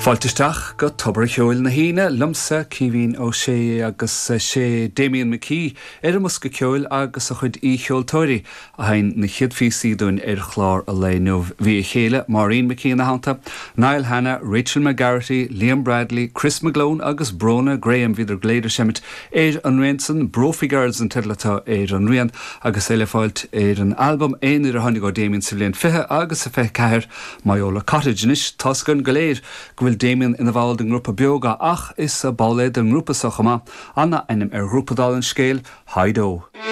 Fáilte isteach go Tobar a' Cheoil na hAoine, liomsa, Caoimhín Ó Sé, agus sé Damian McKee ar an mbosca ceoil agus a chuid aoicheoltóirí a sheinn na chéad phíosaí dúinn ar chlár an lae inniu. Bhí a chéile, Maureen McKee ina theannta, Niall Hanna, Rachel McGarrity, Liam Bradley, Chris McGlone agus Bróna Graham, bhíodar go léir ag seimint ar an rian san. Brophy Girls an teideal atá ar an rian agus é le fáilt ar an albam aonair a tháinig ó Damien sa bhliain 20 agus a 24, Moyola Cottage. Anois, tá's againn go léir go bhfuil Damien ina bhall den ngrúpa Beoga ach is ball é den ngrúpa so chomh maith, ana ainm ar ghrúpa dála an scéil, High-Do.